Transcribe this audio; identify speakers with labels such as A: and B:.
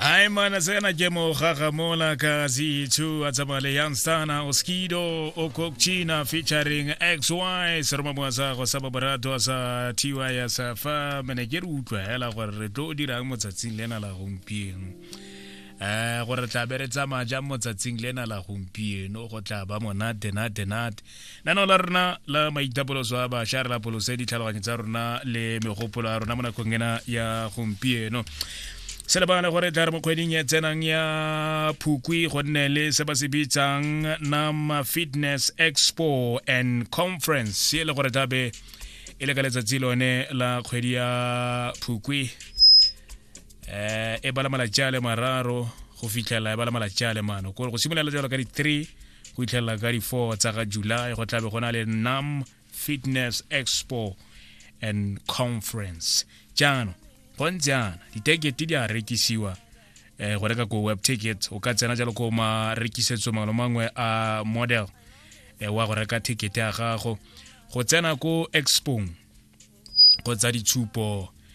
A: Ai mana sena ke mo gagamola ka Z2 a tsamaya le Youngstana Oskido Okokchina featuring XY seroma moa sa go sa borato sa TY ya sa fa mene ke re utlwa hela gore re tlo dirang mo tsatsing lena la gompieno eh gore tla be re tsamaya jang mo tsatsing lena la gompieno go tla ba monate nate nate Lenaneo la rona la maitapoloso a bašwa re lapolose ditlhaloganyo tsa rona le megopolo ya rona mo nakong ena ya gompieno. Se lebale gore tla re mo kgweding e tsenang ya Phukwi go nne le se ba se bitsang Nama Fitness Expo and Conference e le gore tla be e le ka letsatsi lone la kgwedi ya Phukwi eh e bala malatsi a le mararo go fitlhela e bala malatsi a le mano kore go simolola jalo ka di-3 go itlhelela ka di-4 tsa ga July go tlabe go na le Nam Fitness Expo and Conference. Jaanong go ntse jaana ditekete di a rekisiwa eh, go reka ko web ticket o ka tsena jalo ko marekisetso mangwe le mangwe a model eh, wa go reka ticket ya gago go tsena ko expong kgotsa ditshupo.